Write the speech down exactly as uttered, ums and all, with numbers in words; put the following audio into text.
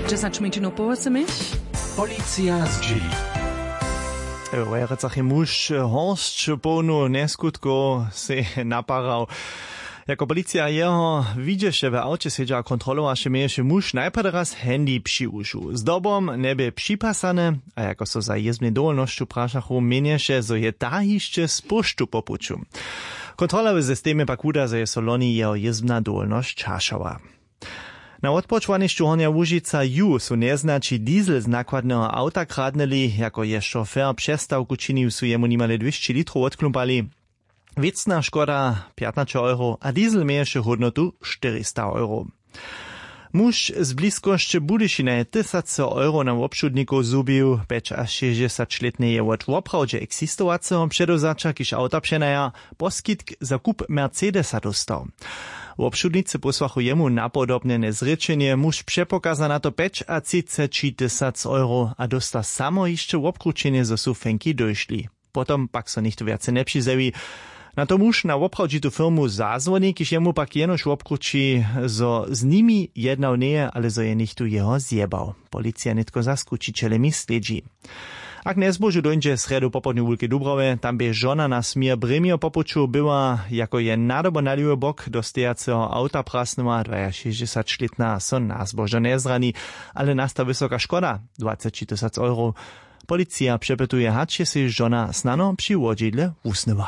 Dźesać minut po wosomich. Policija zdźěli. W Wojerecach je muž horsć połnu njeskutkow sej naparał. Jako policija jeho widźeše w awće sedźa a kontrolowaše, měješe muž najprjedy raz handy při wušu. Zdobom njebě připasany, a jako so za jězbnej dowolnosću prašachu, měnješe, zo je ta hišće z poštu po puću. Kontrola w systemje pak wuda, zo je so loni jeho jězbna dowolnosć hašała. Na wotpočwanišću Hornja Łužica ju su njeznaći diesel z nakładneho awta kradnyli. Jako je šofer přestawku činił, su jemu nimale dwěsći litrow wotklumpali. Wěcna škoda pjatnaće euro a diesel měješe hódnotu štyrista euro. Muž z bliskosće Budyšina je tysace euro na wobšudnikow zhubił. Pjećašěsćdźesaćlětny je wot woprawdźe eksistowaceho předewzaća, kiž awta přenaja, poskitk za kup Mercedesa dóstał. Wobšudnicy pósłachu jemu napodobnjene zrěčenje. Muž přepokaza na to pjećatřiceći tysac euro a dósta samo hišće wobkrućenje, zo su fenki dóšli. Potom pak so něchtó wjace njepřizjewi. Na to muž na woprawdźitu firmu zazwoni, kiž jemu pak jenož wobkrući, zo z nimi jednał njeje, ale zo je něchtó jeho zjebał. Policija nětko za skućićelemi slědźi. A k njezbožu dóńdźe srjedu popołdnju w Wulkej Dubrawje. Tam bě žona na směr Brěmjo po puću była. Jako je nadobo na lěwy bok do stejaceho awta prasnyła, dwajašěsćdźesaćlětna so na zbožo njezrani, ale nasta wysoka škoda dwaceći tysac euro. Policija přepytuje, hač je sej žona snano při wodźidle wusnyła.